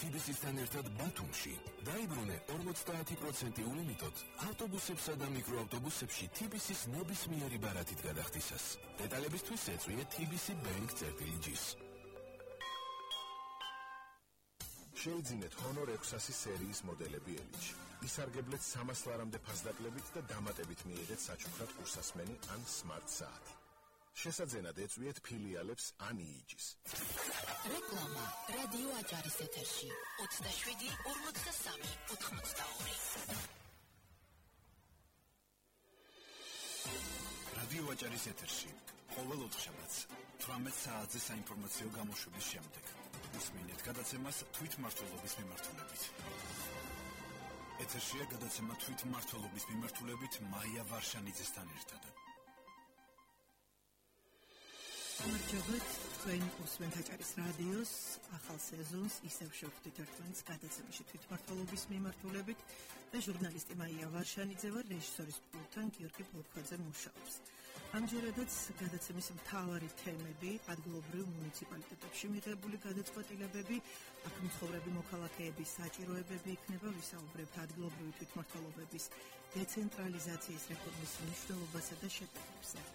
TBC-სთან ერთად ბათუმში დაიბრუნე 50% ულიმიტოდ ავტობუსებსა და მიკროავტობუსებში TBC-ს ნებისმიერი ბარათით გადახდისას. დეტალებისთვის ეწვიე TBC Bank-ს. შეიძინეთ Honor 600 სერიის მოდელები ელჩი. ისარგებლეთ 300 ლარამდე ფასდაკლებით და დამატებით მიიღეთ საჩუქრად კურსასმენი ან smart საათი. შესაძენად ეწვიეთ ფილიალებს ან იიჯის. რეკლამა რადიო აჭარის ეთერში 27 43 82. რადიო აჭარის ეთერში ყოველ ოთხშაბათს 18 საათზე საინფორმაციო გამოშვების შემდეგ უსმინეთ გადაცემას თვითმმართველობის მიმართულებით. ეთერშია გადაცემა თვითმმართველობის მიმართულებით მაია ვარშანიძესთან ერთად. გამარჯობათ, თქვენ უსმენთ აჭარის რადიოს ახალ სეზონს ისევ შევხვდით ერთმანეთს გადაცემაში თვითმმართველობის მიმართულებით და ჟურნალისტი მაია ვარშანიძე ვარ, რეჟისორის პულტთან გიორგი ბოლქვაძე მუშაობს. ამჯერადაც გადაცემის მთავარი თემები, ადგილობრივ მუნიციპალიტეტებში მიღებული გადაწყვეტილებები, აქ მცხოვრები მოქალაქეების საჭიროებები იქნება, ვისაუბრებთ ადგილობრივი თვითმმართველობების დეცენტრალიზაციის რეფორმის მნიშვნელობასა და შედეგებზე.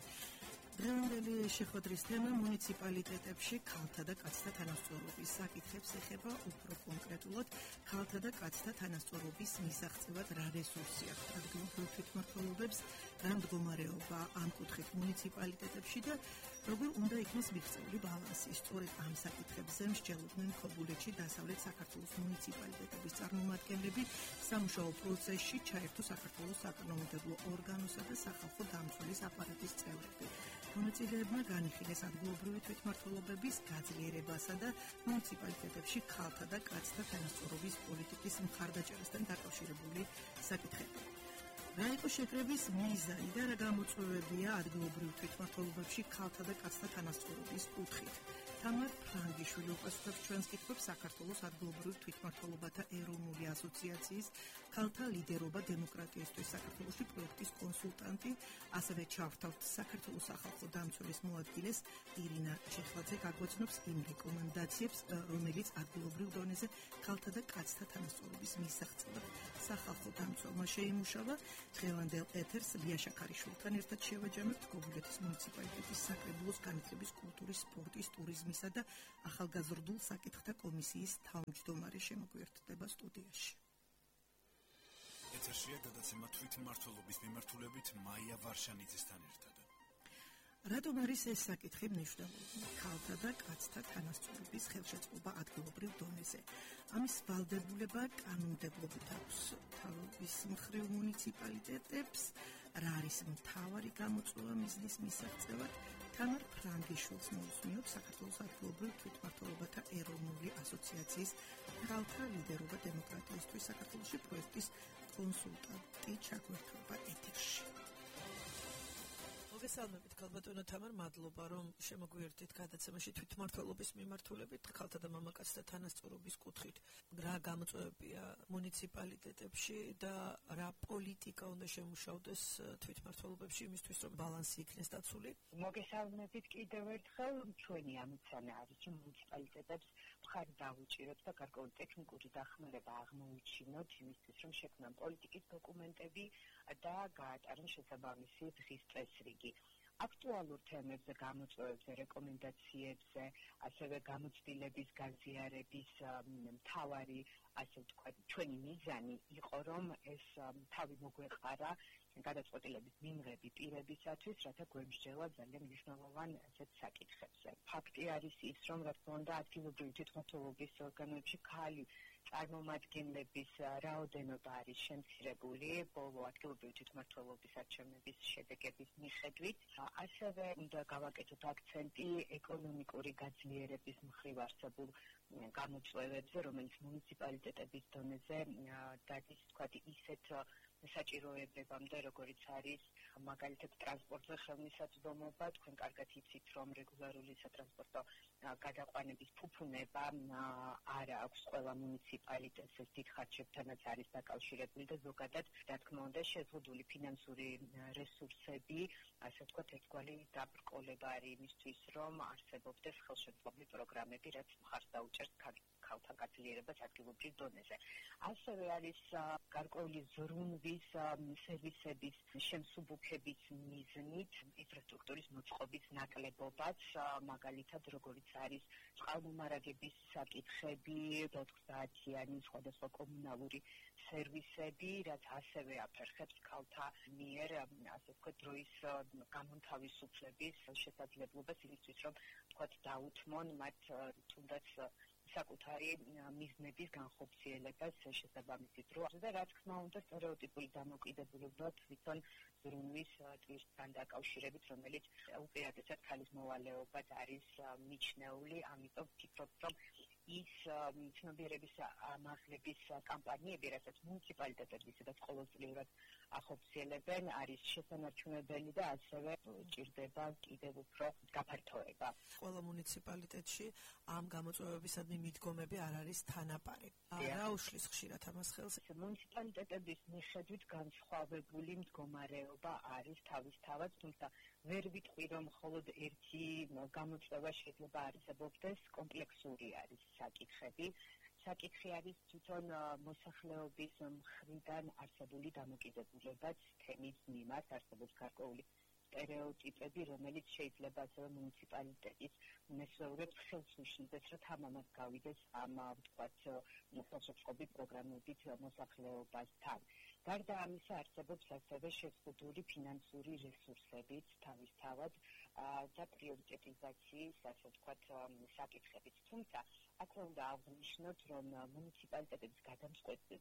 დღევანდელი შეხვედრის თემა მუნიციპალიტეტებში ქალთა და კაცთა თანასწორობის საკითხებს ეხება, უფრო კონკრეტულად ქალთა და კაცთა თანასწორობის მისაღწევად რა რესურსი აქვს ადგილობრივ თვითმმართველობებს, რა მდგომარეობა ამ კუთხით მუნიციპალიტეტებში და როგორ უნდა იქნეს მიღწეული ბალანსი. სწორედ ამ საკითხებზე მსჯელობდნენ ქობულეთში დასავლეთ საქართველოს მუნიციპალიტეტების წარმომადგენლები სამუშაო პროცესში ჩაერთო საქართველოს საკანონმდებლო ორგანოსა და სახალხო დამცველის აპარატის წევრები. მონაწილეებმა განიხილეს ადგილობრივი თვითმმართველობების გაძლიერებასა და მუნიციპალიტეტებში ქალთა და კაცთა თანასწორობის პოლიტიკის მხარდაჭერასთან დაკავშირებული საკითხები. რა იყო შეკრების მიზანი და რა გამოწვევებია ადგილობრივ თვითმმართველობებში ქალთა და კაცთა თანასწორობის კუთხით. თამარ ფრანგიშვილი უპასუხებს ჩვენს კითხვებს საქართველოს ადგილობრივ თვითმმართველობათა ეროვნული ასოციაციის ქალთა ლიდერობა დემოკრატიისთვის საქართველოში პროექტის კონსულტანტი, ასევე ჩავთავთ საქართველოს სახალხო დამცველის მოადგილეს ირინა ჩეხლაძე გაგვაცნობს იმ რეკომენდაციებს, რომელიც ადგილობრივ დონეზე ქალთა და კაცთა თანასწორობის მისაღწევად სახალხო დამცველმა შეიმუშავა. დღევანდელ ეთერს ლია შაქარიშვილთან ერთად შევაჯამებთ ქობულეთის მუნიციპალიტეტის საკრებულოს განათლების, კულტურის, სპორტის, ტურიზმისა და ახალგაზრდულ საკითხთა კომისიის თავმჯდომარე შემოგვიერთდება სტუდიაში. ეთერშია გადაცემა თვითმმართველობის მიმართულებით მაია ვარშანიძესთან ერთად. რატომ არის ეს საკითხი მნიშვნელოვანი? ქალთა და კაცთა თანასწორობის ხელშეწყობა ადგილობრივ დონეზე. ამის ვალდებულება კანონმდებლობით აქვს თავის მხრივ მუნიციპალიტეტებს. რა არის მთავარი გამოწვევა მიზნის მისაღწევად? თამარ ფრანგიშვილს მოусმინოთ საქართველოს ადგილობრივ თვითმმართველობათა ეროვნული ასოციაციის ქალთა ლიდერობა დემოკრატიისთვის საქართველოში პროექტის კონსულტანტი ჩაგვერთვება ეთერში. მოგესალმებით ქალბატონო თამარ, მადლობა რომ შემოგვიერთდით გადაცემაში თვითმმართველობის მიმართულებით ქალთა და მამაკაცთა თანასწორობის კუთხით. რა გამოწვევებია მუნიციპალიტეტებში და რა პოლიტიკა უნდა შემუშავდეს თვითმმართველობებში იმისთვის რომ ბალანსი იქნეს დაცული? მოგესალმებით კიდევ ერთხელ. ჩვენი ამოცანა არის რომ მუნიციპალიტეტებს მხარი დავუჭიროთ და გარკვეული ტექნიკური დახმარება აღმოუჩინოთ იმისთვის რომ შექმნან პოლიტიკის დოკუმენტები და გაატარონ შესაბამისი დღის წესრიგი. აქტუალურ თემებზე, გამოწვევებზე, რეკომენდაციებზე, ასევე გამოცდილების გაზიარების მთავარი, ასე ვთქვათ, ჩვენი მიზანი იყო, რომ ეს თავი მოგვეყარა გადაწყვეტილების მიმღები პირებისათვის, რათა გვემსჯელა ძალიან მნიშვნელოვან ასეთ საკითხებზე. ფაქტი არის ის, რომ რა თქმა უნდა, ადგილობრივი თვითმმართველობის ორგანოებში ქალი წარმომადგენლების რაოდენობა არის შემცირებული ბოლო ადგილობრივი თვითმმართველობის არჩევნების შედეგების მიხედვით. ასევე უნდა გავაკეთოთ აქცენტი ეკონომიკური გაძლიერების მხრივ არსებულ გამოწვევებზე, რომელიც მუნიციპალიტეტების დონეზე დადის, თქვათ, ისეთ საჭიროებებამდე, როგორიც არის მაგალითად ტრანსპორტზე ხელმისაწვდომობა. თქვენ კარგად იცით, რომ რეგულარული სატრანსპორტო გადაყვანების ფუფუნება არ აქვს ყველა მუნიციპალიტეტს, ეს დიდ ხარჯებთანაც არის დაკავშირებული და ზოგადად, რა თქმა უნდა, შეზღუდული ფინანსური რესურსები, ასე ვთქვათ, ერთგვარი დაბრკოლება არის იმისთვის, რომ არსებობდეს ხელშეწყობილი პროგრამები, რაც მხარს დაუჭერს ქალთა გაწლიერებას ადგილობრივ დონეზე. ასევე არის გარკვეული ზრუნვის სერვისების შემსუბუქების მიზნით ინფრასტრუქტურის მოწყობის ნაკლებობაც, მაგალითად როგორიც არის წყალმომარაგების საკითხები, 90-იანი სხვადასხვა კომუნალური სერვისები, რაც ასევე აფერხებს ქალთა მიერ, ასე ვთქვათ, დროის გამონთავისუფლების შესაძლებლობას იმისთვის, რომ ვთქვათ, დაუთმონ მათ თუნდაც საკუთარი მიზნების განხორციელებას შესაბამისი დრო და რა თქმა უნდა სტერეოტიპული დამოკიდებულება თვითონ ზრუნვის ტვირთთან დაკავშირებით, რომელიც უპირატესად ქალის მოვალეობად არის მიჩნეული, ამიტომ ვფიქრობ, რომ ის ცნობიერების ამაღლების კამპანიები, რასაც მუნიციპალიტეტები სადაც ყოველწლიურად ახორციელებენ, არის შესანარჩუნებელი და ასევე ჭირდება კიდევ უფრო გაფართოება. ყველა მუნიციპალიტეტში ამ გამოწვევებისადმი მიდგომები არ არის თანაპარი. რა უშლის ხშირად ამას ხელს? მუნიციპალიტეტების მიხედვით განსხვავებული მდგომარეობა არის თავისთავად, თუმცა ვერ ვიტყვი, რომ მხოლოდ ერთი გამოწვევა შეიძლება არსებობდეს, კომპლექსური არის საკითხები. საკითხი არის თვითონ მოსახლეობის მხრიდან არსებული დამოკიდებულებაც თემის მიმართ, არსებობს გარკვეული სტერეოტიპები, რომელიც შეიძლება ასევე მუნიციპალიტეტის მესვეურებს ხელს უშლიდეს, რომ თამამად გავიდეს ამ ვთქვათ ხელშეწყობი პროგრამებით მოსახლეობასთან. გარდა ამისა არსებობს ასევე შეზღუდული ფინანსური რესურსებიც თავისთავად და პრიორიტეტიზაციის, ასე ვთქვათ, საკითხებით. თუმცა აქ უნდა აღვნიშნოთ, რომ მუნიციპალიტეტების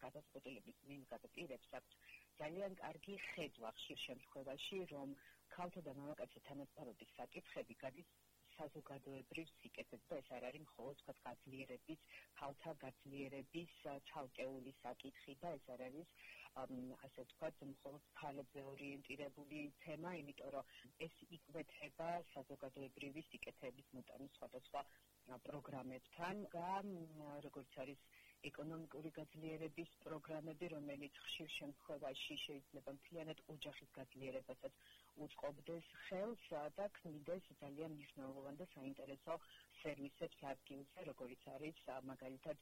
გადაწყვეტილების მიმგადაპირებს აქვთ ძალიან კარგი ხედვა ხშირ შემთხვევაში, რომ ქალთა და მამაკაცთა თანასწორობის საკითხები გადის საზოგადოებრივ სიკეთეზე და ეს არ არის მხოლოდ თქვათ გაძლიერების, ქალთა გაძლიერების ცალკეული საკითხი და ეს არ არის ასე ვთქვათ, მხოლოდ ქალებზე ორიენტირებული თემა, იმიტომ რომ ეს იკვეთება საზოგადოებრივი სიკეთეების მოტანის სხვადასხვა პროგრამებთან და როგორც არის ეკონომიკური გაძლიერების პროგრამები, რომელიც ხშირ შემთხვევაში შეიძლება მთლიანად ოჯახის გაძლიერებასაც უწყობდეს ხელს და ქმნიდეს ძალიან მნიშვნელოვან და საინტერესო სერვისებს ადგილზე, როგორიც არის მაგალითად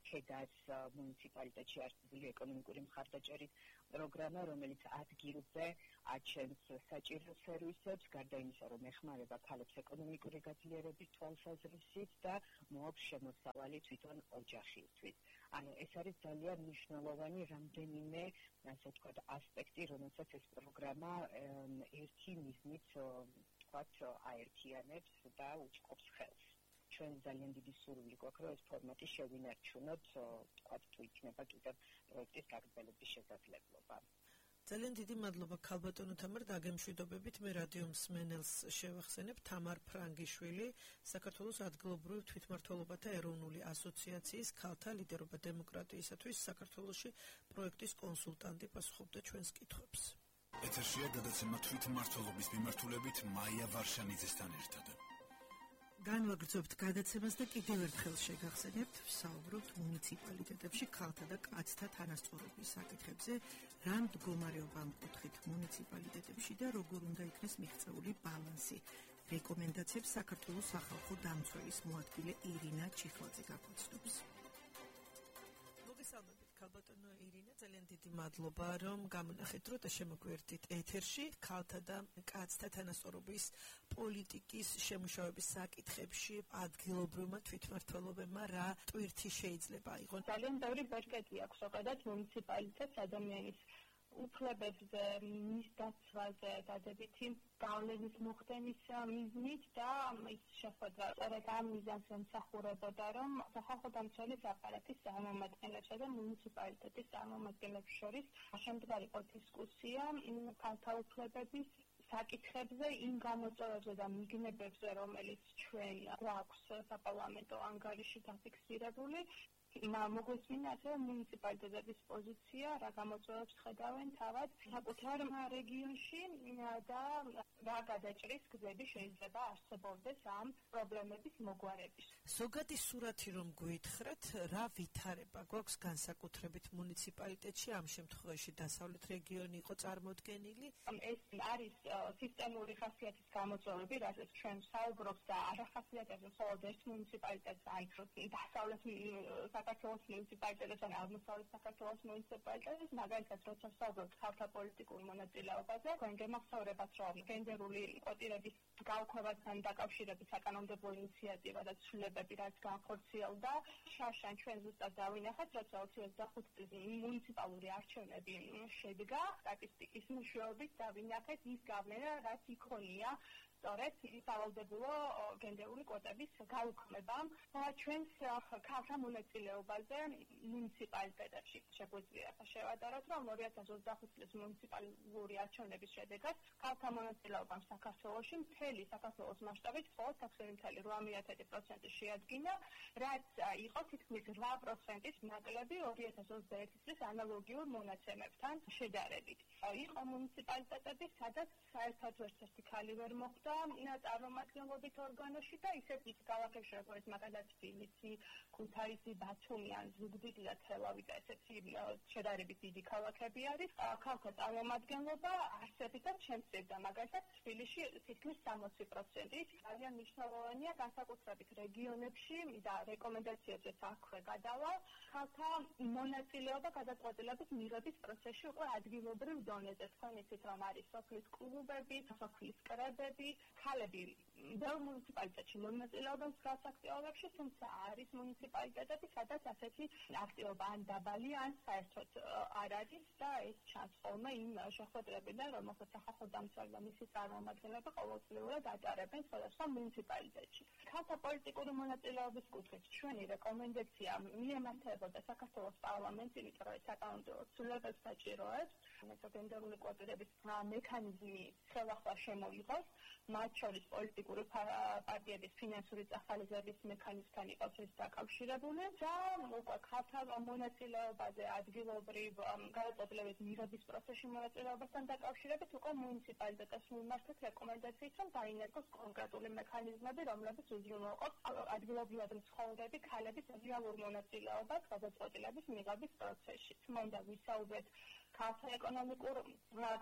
ქედას მუნიციპალიტეტში არსებული ეკონომიკური მხარდაჭერის პროგრამა, რომელიც ადგილზე აჩენს საჭირო სერვისებს, გარდა იმისა, რომ ეხმარება ქალებს ეკონომიკური გაძლიერების თვალსაზრისით და მოაქვს შემოსავალი თვითონ ოჯახისთვის. ანუ ეს არის ძალიან მნიშვნელოვანი რამდენიმე, ასე ვთქვათ, ასპექტი, რომელსაც ეს პროგრამა ერთი მიზნით, ვთქვათ, აერთიანებს და უწყობს ხელს. ჩვენ ძალიან დიდი სურვილი გვაქვს, რომ ეს ფორმატი შევინარჩუნოთ, ვთქვათ, თუ იქნება კიდევ პროექტის გაგრძელების შესაძლებლობა. ძალიან დიდი მადლობა ქალბატონო თამარ დაგემშვიდობებით. მე რადიო მსმენელს შევახსენებ თამარ ფრანგიშვილი, საქართველოს ადგილობრივი თვითმმართველობათა ეროვნული ასოციაციის ქალთა ლიდერობა დემოკრატიისათვის საქართველოში პროექტის კონსულტანტი, პასუხობდა ჩვენს კითხვებს. ეთერშია გადაცემა თვითმმართველობის მიმართულებით მაია ვარშანიძესთან ერთად. განვაგრძობთ გადაცემას და კიდევ ერთხელ შეგახსენებთ, ვსაუბრობთ მუნიციპალიტეტებში ქალთა და კაცთა თანასწორობის საკითხებზე, რა მდგომარეობა ამ კუთხით მუნიციპალიტეტებში და როგორ უნდა იქნეს მიღწეული ბალანსი. რეკომენდაციებს საქართველოს სახალხო დამცველის მოადგილე ირინა ჩიხლაძე გაგვაცნობს. მოგესალმებით ქალბატონო ირინა, ძალიან დიდი მადლობა, რომ გამონახეთ დრო და შემოგვერთით ეთერში ქალთა და კაცთა თანასწორობის პოლიტიკის შემუშავების საკითხებში ადგილობრივმა თვითმმართველობებმა რა ტვირთი შეიძლება აიღონ? ძალიან ბევრი ბერკეტი აქვს ზოგადად მუნიციპალიტეტს ადამიანის უფლებებზე, მის დაცვაზე, დადებითი გავლენის მოხდენის მიზნით და ის შეხვედრა სწორედ ამ მიზანს ემსახურებოდა, რომ სახალხო დამცველის აპარატის წარმომადგენლებსა და მუნიციპალიტეტის წარმომადგენლებს შორის შემდგარიყო დისკუსია ქალთა უფლებების საკითხებზე, იმ გამოწვევებზე და მიგნებებზე, რომელიც ჩვენ გვაქვს საპარლამენტო ანგარიში დაფიქსირებული. მოგვისმინა ასევე მუნიციპალიტეტების პოზიცია, რა გამოწვევებს ხედავენ თავად საკუთარ რეგიონში და რა გადაჭრის გზები შეიძლება არსებობდეს ამ პრობლემების მოგვარების. ზოგადი სურათი რომ გვითხრათ, რა ვითარება გვაქვს განსაკუთრებით მუნიციპალიტეტში, ამ შემთხვევაში დასავლეთ რეგიონი იყო წარმოდგენილი? ეს არის სისტემური ხასიათის გამოწვევები, რასაც ჩვენ საუბრობს და არ ახასიათებს მხოლოდ ერთ მუნიციპალიტეტს, ან დასავლეთ საქართველოს მუნიციპალიტეტს ან აღმოსავლეთ საქართველოს მუნიციპალიტეტს, მაგალითად, როცა საუბრობთ ქალთა პოლიტიკურ მონაწილეობაზე, თქვენ გემახსოვრებათ, რომ გენდერული კვოტირების გაუქმებასთან დაკავშირებით საკანონმდებლო ინიციატივა და ცვლილებები რაც განხორციელდა, შარშან ჩვენ ზუსტად დავინახეთ, როცა 2025 წლის მუნიციპალური არჩევნები შედგა, სტატისტიკის მეშვეობით დავინახეთ ის გავლენა, რაც იქონია სწორედ სავალდებულო გენდერული კვოტების გაუქმებამ ჩვენს ქალთა მონაწილეობაზე მუნიციპალიტეტებში. შეგვიძლია შევადაროთ, რომ 2025 წლის მუნიციპალური არჩევნების შედეგად ქალთა მონაწილეობამ საქართველოში მთელი საქართველოს მასშტაბით მხოლოდ 6.8% შეადგინა, რაც იყო თითქმის 8%-ის ნაკლები 2021 წლის ანალოგიურ მონაცემებთან შედარებით. იყო მუნიციპალიტეტები, სადაც საერთოდ ერთ-ერთი ქალი ვერ მოხვდა წარმომადგენლობით ორგანოში და ისეთი ქალაქებში, როგორც მაგალითად თბილისი, ქუთაისი, ბათუმი ან ზუგდიდი და თელავი და ესეთი შედარებით დიდი ქალაქები არის. ქალთა წარმომადგენლობა არსებითად შემცირდა, მაგალითად თბილისში თითქმის 60%. ძალიან მნიშვნელოვანია განსაკუთრებით რეგიონებში და რეკომენდაციებზეც აქვე გადავალ, ქალთა მონაწილეობა გადაწყვეტილების მიღების პროცესში უკვე ადგილობრივ დონეზე. თქვენ იცით, რომ არის სოფლის კლუბები, სოფლის კრებები, ქალები ბევრ მუნიციპალიტეტში მონაწილეობენ მსგავს აქტივობებში, თუმცა არის მუნიციპალიტეტები, სადაც ასეთი აქტივობა ან დაბალი, ან საერთოდ არ არის და ეს ჩანს ხოლმე იმ შეხვედრებიდან, რომელსაც სახალხო დამცველი და მისი წარმომადგენლები ყოველწლიურად ატარებენ სხვადასხვა მუნიციპალიტეტში. ქალთა პოლიტიკური მონაწილეობის კუთხით ჩვენი რეკომენდაცია მიემართებოდა საქართველოს პარლამენტს, იმიტომ რომ საკანონმდებლო ცვლილებებს საჭიროებს, გენდერული კვოტირების მექანიზმი ხელახლა შემოიღოს, მათ შორის პოლიტიკური პარტიების ფინანსური წახალისების მექანიზმთან იყოს ეს დაკავშირებული და უკვე ქალთა მონაწილეობაზე ადგილობრივ გადაწყვეტილების მიღების პროცესში მონაწილეობასთან დაკავშირებით უკვე მუნიციპალიტეტებს მიმართეთ რეკომენდაციით, რომ დაინერგოს კონკრეტული მექანიზმები, რომლებიც უზრუნველყოფს ადგილობრივად მცხოვრები ქალების რეალურ მონაწილეობას გადაწყვეტილების მიღების პროცესში. მინდა ვისაუბრეთ ქალთა ეკონომიკურ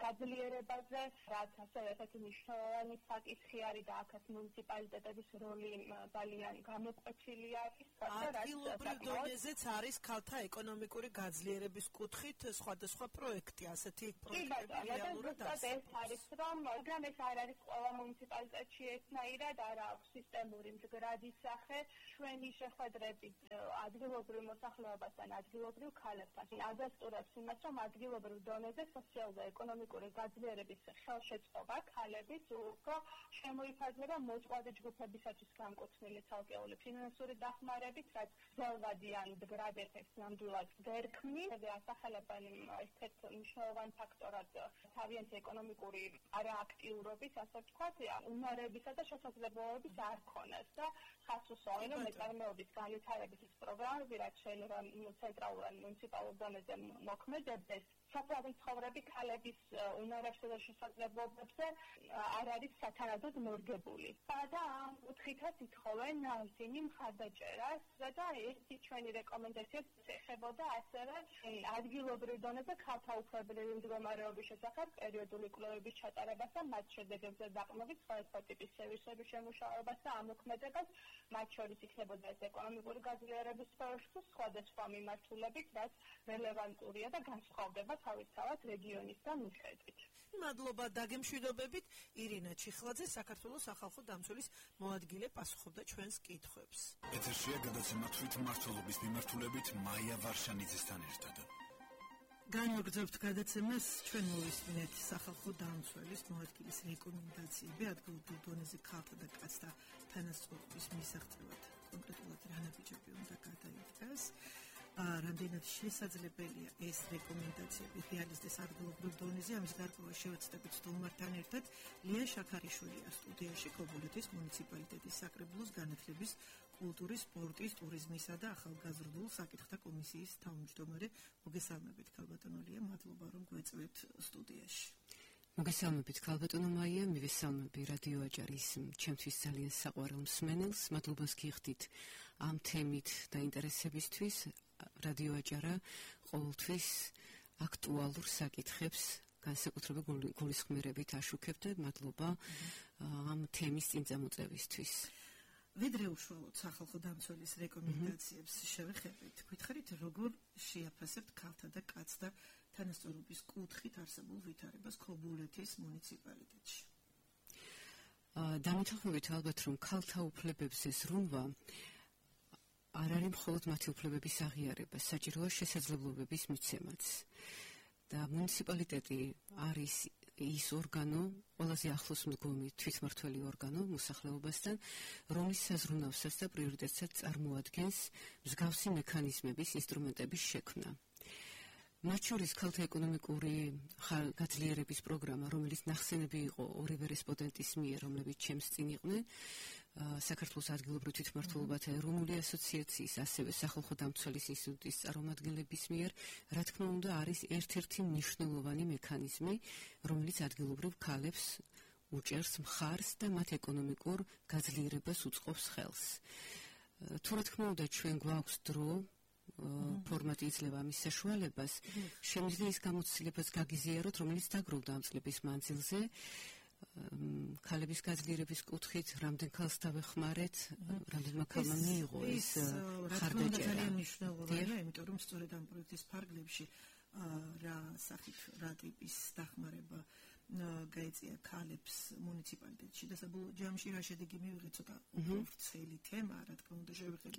გაძლიერებაზე, რაც ასევე ესეთი მნიშვნელოვანი საკითხი არის და აქაც მუნიციპალიტეტების როლი ძალიან გამოკვეთილი არის. ადგილობრივ დონეზეც არის ქალთა ეკონომიკური გაძლიერების კუთხით სხვადასხვა პროექტი, ასეთი პროექტები რეალურად არის. ეს არის, რომ მაგრამ ეს არ არის ყველა მუნიციპალიტეტში ერთნაირად, არ აქვს სისტემური მდგრადი სახე. ჩვენი შეხვედრებით ადგილობრივ მოსახლეობასთან, ადგილობრივ ქალებთან ადასტურებს იმას, რომ ადგილობრივ დონეზე სოციალურ-ეკონომიკური გაძლიერების ხელშეწყობა ქალების უფრო შემოიფარგლება მოწყვლადი ჯგუფებისათვის განკუთვნილი ცალკეული ფინანსური დახმარებით, რაც ძველვადი ან მდგრად ეფექტს ნამდვილად ვერ ქმნის. ასახელებენ ერთ-ერთ მნიშვნელოვან ფაქტორად თავიანთი ეკონომიკური არააქტიურობის, ასე ვთქვათ, უნარებისა და შესაძლებლობების არ ქონას და ხას უსვამენ მეწარმეობის განვითარების პროგრამები, რაც შეიძლება ცენტრალურ ან მუნიციპალურ დონეზე მოქმედებდეს. საფრთხე ცხოვრები ქალების უნარებსა და შესაძლებლობებზე არ არის სათანადოდ მორგებული. და ამ კუთხითაც ითხოვენ ისინი მხარდაჭერას და ერთი ჩვენი რეკომენდაციაც ეხებოდა ასევე ადგილობრივ დონეზე ქალთა უფლებრივი მდგომარეობის შესახებ პერიოდული კვლევების ჩატარებას და მათ შედეგებზე დაყრდნობით სხვადასხვა ტიპის სერვისების შემუშავებას და ამოქმედებას, მათ შორის იქნებოდა ეს ეკონომიკური გაძლიერების სფეროში სხვადასხვა მიმართულებით, რაც რელევანტურია და განსხვავდება თავისთავად რეგიონისგან მიხედვით. მადლობა დაგემშვიდობებით. ირინა ჩიხლაძე, საქართველოს სახალხო დამცველის მოადგილე, პასუხობდა ჩვენს კითხვებს. ეთერშია გადაცემა თვითმმართველობის მიმართულებით მაია ვარშანიძესთან ერთად. განვაგრძობთ გადაცემას, ჩვენ მოვისმინეთ სახალხო დამცველის მოადგილის რეკომენდაციები ადგილობრივ დონეზე ქალთა და კაცთა თანასწორობის მისაღწევად. კონკრეტულად რა ნაბიჯები უნდა გადაიდგას. რამდენად შესაძლებელია ეს რეკომენდაციები რეალიზდეს ადგილობრივ დონეზე. ამის გარკვევა შევეცდებით სტუმართან ერთად. ლია შაქარიშვილია სტუდიაში ქობულეთის მუნიციპალიტეტის საკრებულოს განათლების, კულტურის, სპორტის, ტურიზმისა და ახალგაზრდულ საკითხთა კომისიის თავმჯდომარე. მოგესალმებით, ქალბატონო ლია, მადლობა რომ გვეწვევთ სტუდიაში. მოგესალმებით, ქალბატონო მაია, მივესალმები რადიო აჭარის ჩემთვის ძალიან საყვარელ მსმენელს. მადლობას გიხდით ამ თემით დაინტერესებისთვის. რადიო აჭარა ყოველთვის აქტუალურ საკითხებს განსაკუთრებით გულისხმიერებით აშუქებდა. მადლობა ამ თემის წინწამოწევისთვის. ვიდრე უშუალოდ სახალხო დამცველის რეკომენდაციებს შევეხებით, გითხარით როგორ შეაფასებთ ქალთა და კაცთა თანასწორობის კუთხით არსებულ ვითარებას ქობულეთის მუნიციპალიტეტში? დამეთანხმებით ალბათ, რომ ქალთა უფლებებზე ზრუნვა არ არის მხოლოდ მათი უფლებების აღიარება, საჭიროა შესაძლებლობების მიცემაც. და მუნიციპალიტეტი არის ის ორგანო, ყველაზე ახლოს მდგომი თვითმმართველი ორგანო მოსახლეობასთან, რომლის საზრუნავსაც და პრიორიტეტსაც წარმოადგენს მსგავსი მექანიზმების, ინსტრუმენტების შექმნა. მათ შორის ქალთა ეკონომიკური გაძლიერების პროგრამა, რომელიც ნახსენები იყო ორივე რესპონდენტის მიერ, რომლებიც ჩემს წინ იყვნენ, საქართველოს ადგილობრივ თვითმმართველობათა ეროვნული ასოციაციის, ასევე სახალხო დამცველის ინსტიტუტის წარმომადგენლების მიერ, რა თქმა უნდა, არის ერთ-ერთი მნიშვნელოვანი მექანიზმი, რომელიც ადგილობრივ ქალებს უჭერს მხარს და მათ ეკონომიკურ გაძლიერებას უწყობს ხელს. თუ რა თქმა უნდა, ჩვენ გვაქვს დრო, ფორმატი იძლევა ამის საშუალებას, შემიძლია ის გამოცდილებას გაგიზიაროთ, რომელიც დაგროვდა ამ წლების მანძილზე. ქალების გაძლიერების კუთხით, რამდენ ქალს დავეხმარეთ, რამდენმა ქალმა მიიღო ეს ხარდაჭერა. ძალიან მნიშვნელოვანია, იმიტომ რომ სწორედ ამ პროექტის ფარგლებში რა სახით, რა ტიპის დახმარება გაეწია ქალებს მუნიციპალიტეტში და საბოლოო ჯამში რა შედეგი მივიღეთ, ცოტა ვრცელი თემა, რა თქმა უნდა შევეხებით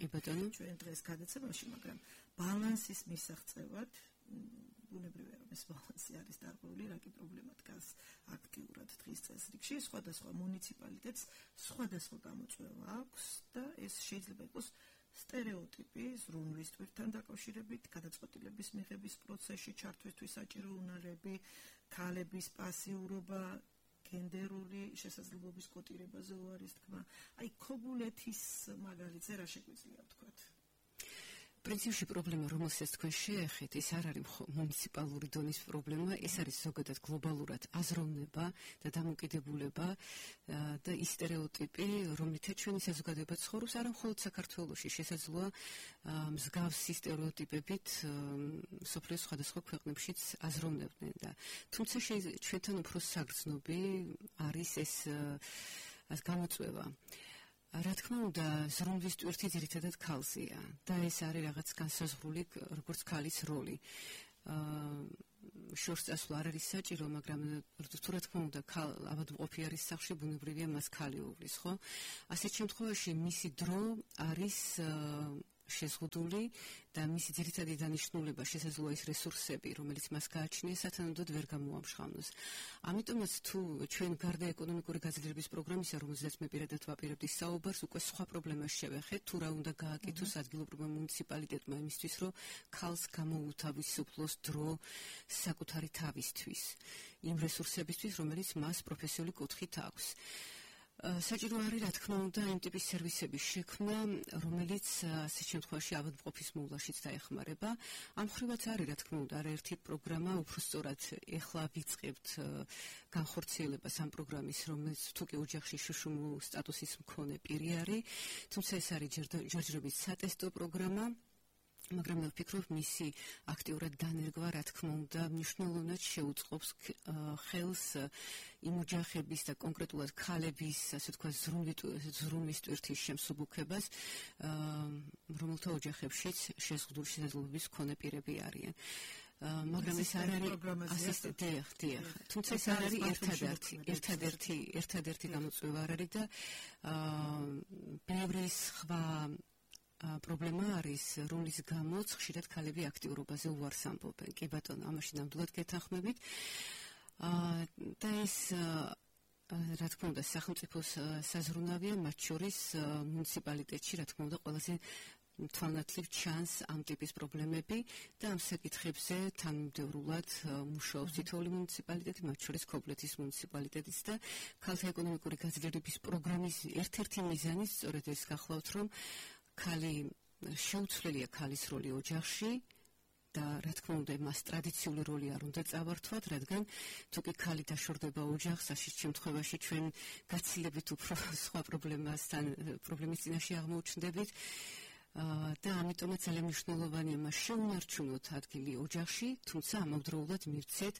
ჩვენ დღეს გადაცემაში, მაგრამ ბალანსის მისაღწევად ბუნებრივია რომ ეს ბალანსი არის დარღვეული, რა კი პრობლემა დგას აქტიურად დღის წესრიგში. სხვადასხვა მუნიციპალიტეტს სხვადასხვა გამოწვევა აქვს და ეს შეიძლება იყოს სტერეოტიპი ზრუნვის ტვირთან დაკავშირებით, გადაწყვეტილების მიღების პროცესში ჩართვისთვის საჭირო უნარები, ქალების პასიურობა, გენდერული შესაძლებლობის კოტირებაზე უარის თქმა. აი ქობულეთის მაგალითზე რა შეგვიძლია ვთქვათ? პრინციპში პრობლემა, რომელსაც თქვენ შეეხეთ, ეს არ არის მუნიციპალური დონის პრობლემა, ეს არის ზოგადად გლობალურად აზროვნება და დამოკიდებულება და ის სტერეოტიპი, რომლითაც ჩვენი საზოგადოება ცხოვრობს, არა მხოლოდ საქართველოში, შესაძლოა მსგავსი სტერეოტიპებით მსოფლიოს სხვადასხვა ქვეყნებშიც აზროვნებდნენ და თუმცა ჩვენთან უფრო საგრძნობი არის ეს გამოწვევა. რა თქმა უნდა, ზრუნვის ტვირთი ძირითადად ქალზეა და ეს არის რაღაც განსაზღვრული როგორც ქალის როლი. შორს წასვლა არ არის საჭირო, მაგრამ თუ რა თქმა უნდა, ავადმყოფი არის სახლში, ბუნებრივია მას ქალი უვლის, ხო? ასეთ შემთხვევაში მისი დრო არის შეზღუდული და მისი ძირითადი დანიშნულება შესაძლოა ის რესურსები, რომელიც მას გააჩნია, სათანადოდ ვერ გამოამშრალოს. ამიტომაც თუ ჩვენ გარდა ეკონომიკური გაძლიერების პროგრამისა, რომელზეც მე პირადად ვაპირებდი საუბარს, უკვე სხვა პრობლემას შევეხეთ, თუ რა უნდა გააკეთოს ადგილობრივმა მუნიციპალიტეტმა იმისთვის, რომ ქალს გამოუთავისუფლოს დრო საკუთარი თავისთვის, იმ რესურსებისთვის, რომელიც მას პროფესიული კუთხით აქვს. საჭირო არის, რა თქმა უნდა, იმ ტიპის სერვისების შექმნა, რომელიც ასეთ შემთხვევაში ავადმყოფის მოვლაშიც დაეხმარება. ამ მხრივაც არის, რა თქმა უნდა, არაერთი პროგრამა, უფრო სწორად ეხლა ვიწყებთ განხორციელებას ამ პროგრამის, რომელიც თუ კი ოჯახში შუშუმ სტატუსის მქონე პირი არის, თუმცა ეს არის ჯერჯერობით სატესტო პროგრამა. მაგრამ მე ვფიქრობ, მისი აქტიურად დანერგვა, რა თქმა უნდა, მნიშვნელოვნად შეუწყობს ხელს იმ ოჯახების და კონკრეტულად ქალების, ასე ვთქვათ, ზრუნვის ტვირთის შემსუბუქებას, რომელთა ოჯახებშიც შეზღუდული შესაძლებლობის მქონე პირები არიან. მაგრამ ეს არ არის ასისტენტი, თუმცა ეს არ არის ერთადერთი გამოწვევა არ არის და ბევრი სხვა პრობლემა არის, რომლის გამოც ხშირად ქალები აქტიურობაზე უარს ამბობენ. კი ბატონო, ამაში ნამდვილად გეთანხმებით. და ეს რა თქმა უნდა, სახელმწიფოს საზრუნავია, მათ შორის მუნიციპალიტეტში, რა თქმა უნდა, ყველაზე თვალნათლივ ჩანს ამ ტიპის პრობლემები და ამ საკითხებზე თანმიმდევრულად მუშაობს თითოეული მუნიციპალიტეტი, მათ შორის ქობულეთის მუნიციპალიტეტიც და ქალთა ეკონომიკური გაძლიერების პროგრამის ერთ-ერთი მიზანი სწორედ ეს გახლავთ, რომ შეუცვლელია ქალის როლი ოჯახში და რა თქმა უნდა მას ტრადიციული როლი არ უნდა წავართვათ, რადგან თუ კი ქალი დაშორდება ოჯახს, ასეთ შემთხვევაში ჩვენ გაცილებით უფრო სხვა პრობლემის წინაშე აღმოჩნდებით და ამიტომაც ძალიან მნიშვნელოვანია მას შეუნარჩუნოთ ადგილი ოჯახში, თუმცა ამავდროულად მივცეთ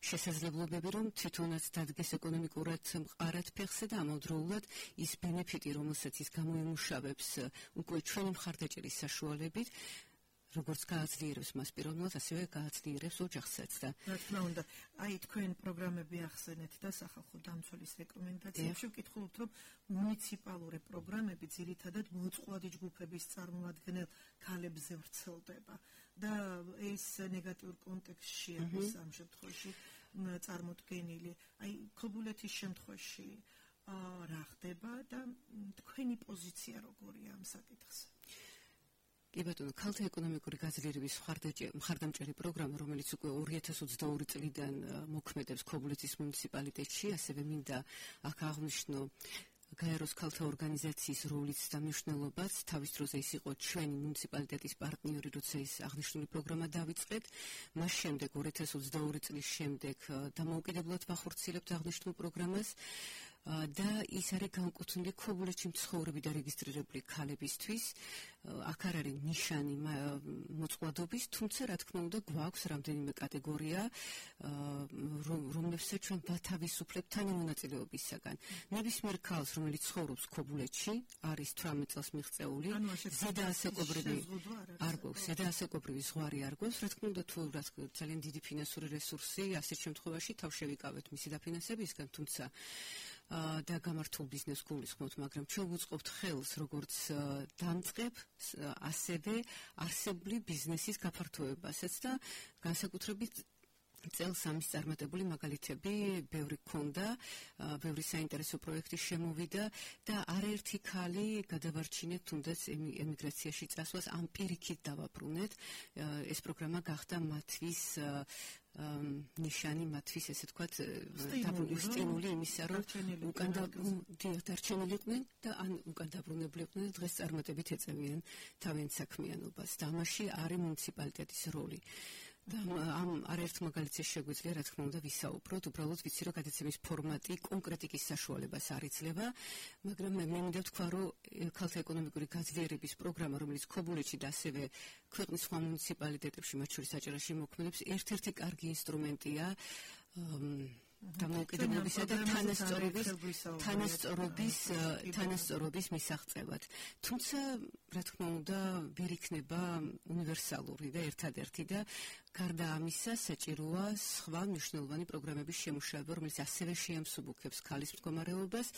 შესაძლებლობები, რომ თვითონაც დადგეს ეკონომიკურად მყარად ფეხზე და ამავდროულად ის ბენეფიტი, რომელსაც ის გამოიმუშავებს უკვე ჩვენი მხარდაჭერის საშუალებით, როგორც გააძლიერებს მას პიროვნულად, ასევე გააძლიერებს ოჯახსაც და რა თქმა უნდა, აი თქვენ პროგრამები ახსენეთ და სახალხო დამცველის რეკომენდაციებში ვკითხულობთ, რომ მუნიციპალური პროგრამები ძირითადად მოწყვლადი ჯგუფების წარმოადგენელ ქალებზე ვრცელდება და ეს ნეგატიურ კონტექსტში არის ამ შემთხვევაში წარმოდგენილი. აი ქობულეთის შემთხვევაში რა ხდება და თქვენი პოზიცია როგორია ამ საკითხზე? კი ბატონო, ქალთა ეკონომიკური გაძლიერების მხარდამჭერი პროგრამა, რომელიც უკვე 2022 წლიდან მოქმედებს ქობულეთის მუნიციპალიტეტში, ასევე მინდა აქ აღვნიშნო გაეროს ქალთა ორგანიზაციის როლიც და მნიშვნელობაც. თავის დროზე ის იყო ჩვენი მუნიციპალიტეტის პარტნიორი, როცა ეს აღნიშნული პროგრამა დავიწყეთ. მას შემდეგ 2022 წლის შემდეგ დამოუკიდებლად ვახორციელებთ აღნიშნულ პროგრამას. და ის არის განკუთვნილი ქობულეთში მცხოვრები და რეგისტრირებული ქალებისთვის. აქ არ არის ნიშანი მოწყვლადობის, თუმცა რა თქმა უნდა გვაქვს რამდენიმე კატეგორია, რომლებსაც ჩვენ ვათავისუფლებთ თანამონაწილეობისაგან. ნებისმიერ ქალს, რომელიც ცხოვრობს ქობულეთში, არის 18 წელს მიღწეული, ზედა ასაკობრივი ზღვარი არ გვაქვს, რა თქმა უნდა თუ ძალიან დიდი ფინანსური რესურსი, ასეთ შემთხვევაში თავ შევიკავებთ მისი დაფინანსებისგან, თუმცა და გამართულ ბიზნესს გულისხმობთ, მაგრამ ჩვენ ვუწყობთ ხელს როგორც დამწყებ, ასევე არსებული ბიზნესის გაფართოებასაც და განსაკუთრებით წელს ამის წარმატებული მაგალითები ბევრი გქონდა, ბევრი საინტერესო პროექტი შემოვიდა და არაერთი ქალი გადავარჩინეთ თუნდაც ემიგრაციაში წასვლას, ამ პირიქით დავაბრუნეთ. ეს პროგრამა გახდა მათთვის ნიშანი, მათთვის ესე ვთქვათ სტიმული იმისა, რომ უკან დარჩენილიყვნენ და ან უკან დაბრუნებლიყვნენ და დღეს წარმატებით ეწევიან თავიანთ საქმიანობას და ამაში არის მუნიციპალიტეტის როლი. და ამ არაერთ მაგალითზე შეგვიძლია რა თქმა უნდა ვისაუბროთ, უბრალოდ ვიცი რომ გადაცემის ფორმატი კონკრეტიკის საშუალებას არ იძლევა, მაგრამ მე მინდა ვთქვა, რომ ქალთა ეკონომიკური გაძლიერების პროგრამა, რომელიც ქობულეთში და ასევე ქვეყნის სხვა მუნიციპალიტეტებში, მათ შორის აჭარაში მოქმედებს, ერთ-ერთი კარგი ინსტრუმენტია დამოუკიდებლობისა და თანასწორობის მისაღწევად. თუმცა, რა თქმა უნდა, ვერ იქნება უნივერსალური და ერთადერთი და გარდა ამისა, საჭიროა სხვა მნიშვნელოვანი პროგრამების შემუშავება, რომელიც ასევე შეამსუბუქებს ქალის მდგომარეობას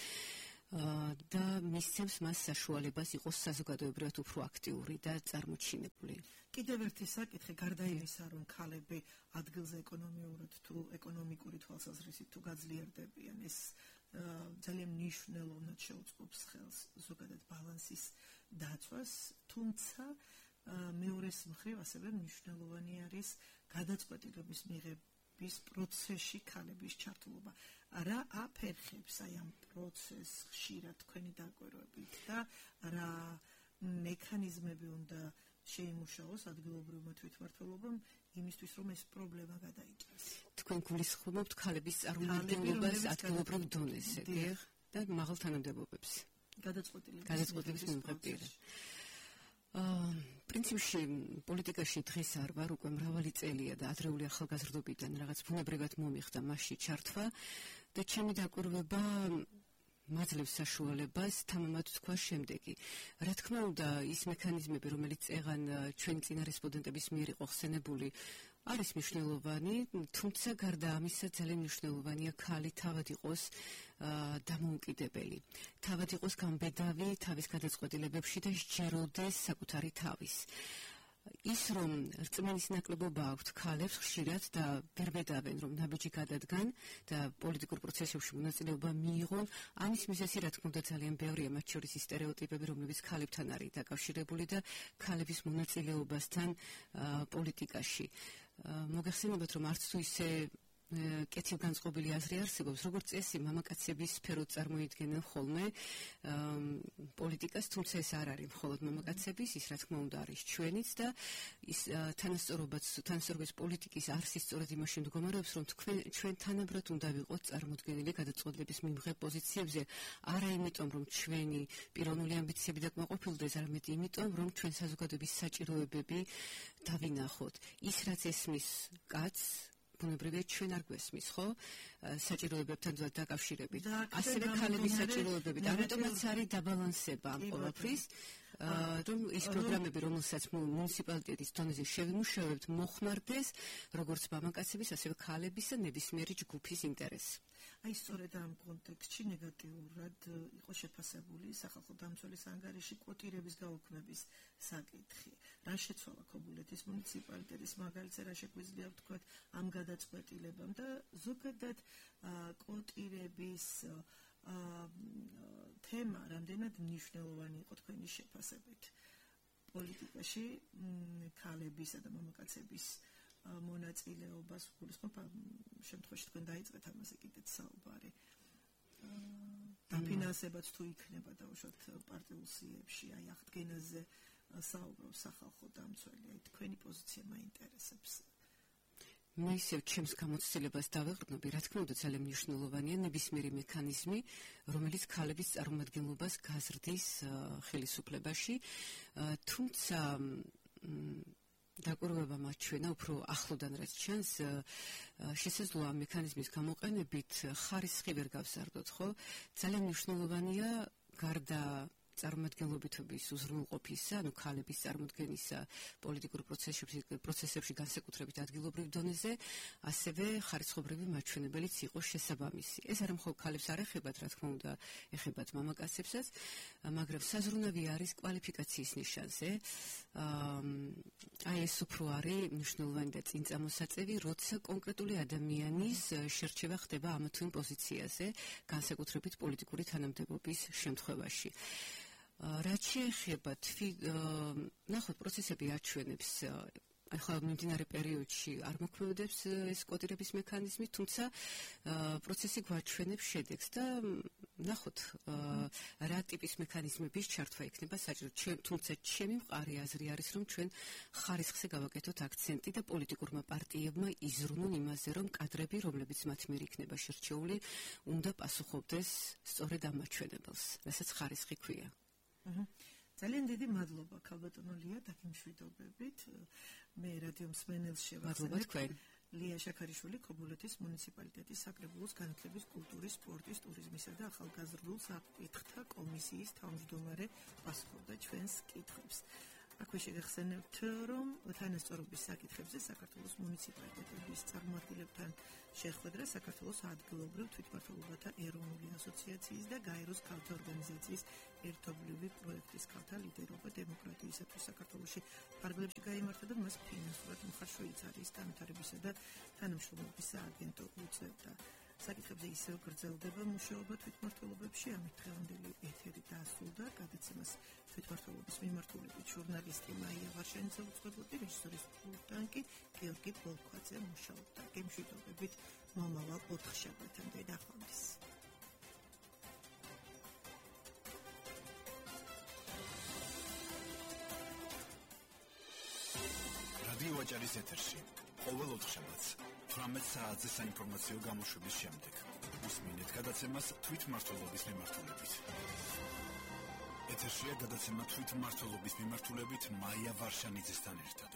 და მისცემს მას საშუალებას იყოს საზოგადოებრივად უფრო აქტიური და წარმოჩინებული. კიდევ ერთი საკითხი, გარდა იმისა, რომ ქალები ადგილზე ეკონომიურად თუ ეკონომიკური თვალსაზრისით თუ გაძლიერდებიან, ეს ძალიან მნიშვნელოვნად შეუწყობს ხელს ზოგადად ბალანსის დაცვას, თუმცა მეორეს მხრივ ასევე მნიშვნელოვანი არის გადაწყვეტილების მიღების პროცესში ქალების ჩართულობა. რა აფერხებს აი ამ პროცესს ხშირად თქვენი დაკვირვებით და რა მექანიზმები უნდა შეიმუშაოს ადგილობრივმა თვითმმართველობამ იმისთვის, რომ ეს პრობლემა გადაიჭრას. თქვენ გულისხმობთ ქალების წარმომადგენლობას ადგილობრივ დონეზე, და მაღალ თანამდებობებს. გადაწყვეტილების მიღებაზე. პრინციპში პოლიტიკაში დღეს არ ვარ, უკვე მრავალი წელია და ადრეული ახალგაზრდობიდან რაღაც ბუნებრივად მომიხდა მასში ჩართვა და ჩემი დაკვირვება მაძლევს საშუალებას თამამად თქვა შემდეგი. რა თქმა უნდა, ის მექანიზმები, რომელიც წეღან ჩვენი წინა რესპონდენტების მიერ იყო ხსენებული, არის მნიშვნელოვანი, თუმცა გარდა ამისა ძალიან მნიშვნელოვანია ქალი თავად იყოს დამოუკიდებელი. თავად იყოს გამბედავი თავის გადაწყვეტილებებში და სჯეროდეს საკუთარი თავის. ის რომ რწმენის ნაკლებობა აქვთ ქალებს ხშირად და ვერ ვედავენ რომ ნაბიჯი გადადგან და პოლიტიკურ პროცესებში მონაწილეობა მიიღონ, ამის მიზეზი რა თქმა უნდა ძალიან ბევრია, მათ შორის ის სტერეოტიპები, რომლებიც ქალებთან არის დაკავშირებული და ქალების მონაწილეობასთან პოლიტიკაში. მოგეხსენებათ რომ არც თუ ისე კეთილ განწყობილი აზრი არსებობს, როგორც წესი მამაკაცების სფეროდ წარმოიდგენენ ხოლმე პოლიტიკას, თუმცა ეს არ არის მხოლოდ მამაკაცების, ის რა თქმა უნდა არის ჩვენიც და ის თანასწორობის პოლიტიკის არსი სწორედ იმაში მდგომარეობს, რომ ჩვენ თანაბრად უნდა ვიყოთ წარმოდგენილი გადაწყვეტილების მიმღებ პოზიციებზე, არა იმიტომ, რომ ჩვენი პიროვნული ამბიციები დაკმაყოფილდეს, არამედ იმიტომ, რომ ჩვენ საზოგადოების საჭიროებები დავინახოთ. ის რაც ესმის კაცს ბუნებრივია ჩვენ არ გვესმის, ხო? საჭიროებებთან დაკავშირებით. ასევე ქალების საჭიროებებით. ამიტომაც არის დაბალანსება ამ ყველაფრის, რომ ის პროგრამები, რომელსაც მუნიციპალიტეტის დონეზე შევიმუშავებთ, მოხმარდეს როგორც მამაკაცების, ასევე ქალების და ნებისმიერი ჯგუფის ინტერესი. აი სწორედ ამ კონტექსტში ნეგატიურად იყო შეფასებული სახალხო დამცველის ანგარიში კვოტირების გაუქმების საკითხი. რა შეცვალა ქობულეთის მუნიციპალიტეტის მაგალითზე, რა შეგვიძლია ვთქვათ ამ გადაწყვეტილებამ და ზოგადად კვოტირების თემა რამდენად მნიშვნელოვანი იყო თქვენი შეფასებით პოლიტიკაში ქალებისა და მამაკაცების მონაწილეობას გულისხმობ შემთხვევაში თქვენ დაიწყეთ ამაზე კიდეც საუბარი. დაფინანსებაც თუ იქნება დაუშვათ პარტიულ სიებში, აი აღდგენაზე საუბრობს სახალხო დამცველი, აი თქვენი პოზიცია მაინტერესებს. მე ისევ ჩემს გამოცდილებას დავეყრდნობი, რა თქმა უნდა ძალიან მნიშვნელოვანია ნებისმიერი მექანიზმი, რომელიც ქალების წარმომადგენლობას გაზრდის ხელისუფლებაში, თუმცა დაკვირვება მაჩვენა უფრო ახლოდან რაც ჩანს, შესაძლოა ამ მექანიზმის გამოყენებით ხარისხი ვერ გავსარდოთ, ხო? ძალიან მნიშვნელოვანია გარდა წარმომადგენლობითობის უზრუნველყოფისა, ანუ ქალების წარმოდგენისა პოლიტიკურ პროცესებში განსაკუთრებით ადგილობრივ დონეზე, ასევე ხარისხობრივი მაჩვენებელიც იყოს შესაბამისი. ეს არ მხოლოდ ქალებს არ ეხებათ, რა თქმა უნდა, ეხებათ მამაკაცებსაც, მაგრამ საზრუნავი არის კვალიფიკაციის ნიშანზე. აი ეს უფრო არის მნიშვნელოვანი და წინწამოსაწევი, როცა კონკრეტული ადამიანის შერჩევა ხდება ამ თუ იმ პოზიციაზე, განსაკუთრებით პოლიტიკური თანამდებობის შემთხვევაში. რაც შეეხება ნახოთ პროცესები აჩვენებს ახლა მიმდინარე პერიოდში არ მოქმედებს ეს კვოტირების მექანიზმი, თუმცა პროცესი გვაჩვენებს შედეგს და ნახოთ რა ტიპის მექანიზმების ჩართვა იქნება საჭირო. თუმცა ჩემი მყარი აზრი არის, რომ ჩვენ ხარისხზე გავაკეთოთ აქცენტი და პოლიტიკურმა პარტიებმა იზრუნონ იმაზე, რომ კადრები, რომლებიც მათ მიერ იქნება შერჩეული, უნდა პასუხობდეს სწორედ ამ მაჩვენებელს, რასაც ხარისხი ქვია. ძალიან დიდი მადლობა ქალბატონო ლია დაგიმშვიდობებით. მე რადიო მსმენელს შევახსენებ ლია შაქარიშვილი ქობულეთის მუნიციპალიტეტის საკრებულოს განათლების, კულტურის, სპორტის, ტურიზმისა და ახალგაზრდულ საკითხთა კომისიის თავმჯდომარე პასუხობდა ჩვენს კითხვებს. აქვე შეგახსენებთ, რომ თანასწორობის საკითხებზე საქართველოს მუნიციპალიტეტების წარმომადგენლებთან შეხვედრა საქართველოს ადგილობრივ თვითმმართველობათა ეროვნული ასოციაციის და გაეროს ქალთა ორგანიზაციის ერთობლივი პროექტის ქალთა ლიდერობა დემოკრატიისათვის საქართველოში ფარგლებში გაიმართა და მას ფინანსურად მხარშოიც არის განვითარებისა და თანამშრომლობის სააგენტო უწევდა. საკითხებზე ისევ გრძელდება მუშაობა თვითმმართველობებში, ამით დღევანდელი ეთერი დაასრულდა. გადაცემას თვითმმართველობის მიმართულებით ჟურნალისტი მაია ვარშანიძე უძღვებოდი, რეჟისორის პულტანკი გიორგი ბოლქვაძე მუშაობდა. გემშვიდობებით მომავალ 4 შაბათამდე დახამდეს. რადიო აჭარის ეთერში ყოველ 4 შაბათს 18 საათზე საინფორმაციო გამოშვების შემდეგ უსმინეთ გადაცემას თვითმმართველობის მიმართულებით. ეთერშია გადაცემა თვითმმართველობის მიმართულებით მაია ვარშანიძესთან ერთად.